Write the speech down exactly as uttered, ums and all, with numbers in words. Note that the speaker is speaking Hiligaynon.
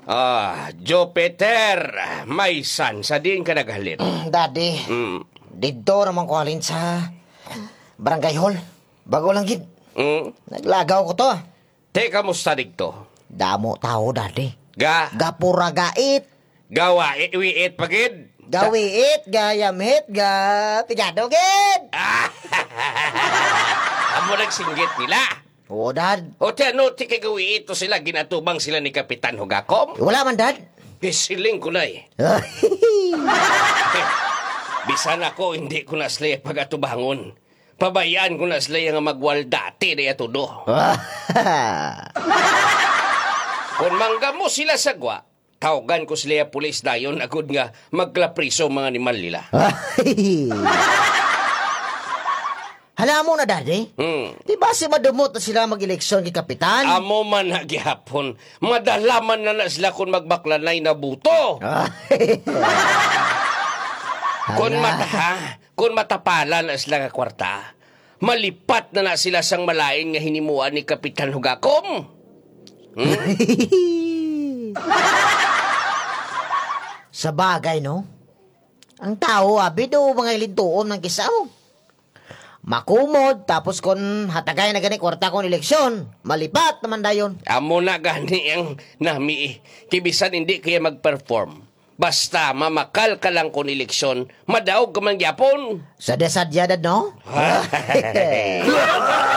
Ah, Jupiter, may san sa diin ka naghalin? Daddy, Mm. didto naman ko halin sa barangay hall. Bago lang gid. Mm. Naglagaw ko to. Te, kamusta digto? Damo tao, Daddy. Ga? Gapura gait. Gawa, wiit pa gid? Gawiit, gayamhit, ga pigado gid. Ah! Amo nagsinggit nila. Oo, Dad. O ti ano, ti kay gawiit to sila, ginatubang sila ni Kapitan Hugakom? Wala man, Dad. Gisiling ko na eh. Bisan ako, hindi ko na sila pagatubangon. Pabayaan ko na sila nga magwaldati na iya todo. Kung manggamo sila sa gwa, tawgan ko sila pulis dayon agud nga maglapriso mga animal nila. Hala mo na, Daddy. Hmm. Di ba si madumot na sila mag-eleksyon kay Kapitan? Amo man na gihapon. Madala man na, na sila kung magbaklanay na buto. Ay. Kung Hala. mata, ha? Kung matapalan na sila nga kwarta, malipat na na sila sang malain nga hinimuan ni Kapitan Hugakom. Hmm? Sa bagay, no? Ang tao, abi do, mga ilintuon ng kisaw. Makumod, tapos kon hatagay na gani kwarta kon eleksyon, malipat naman dayon. Amo na gani ang nami eh. Kibisan hindi kaya mag-perform. Basta mamakal ka lang kon eleksyon, madaog ka man gyapon. Sa desadya, Dad, no?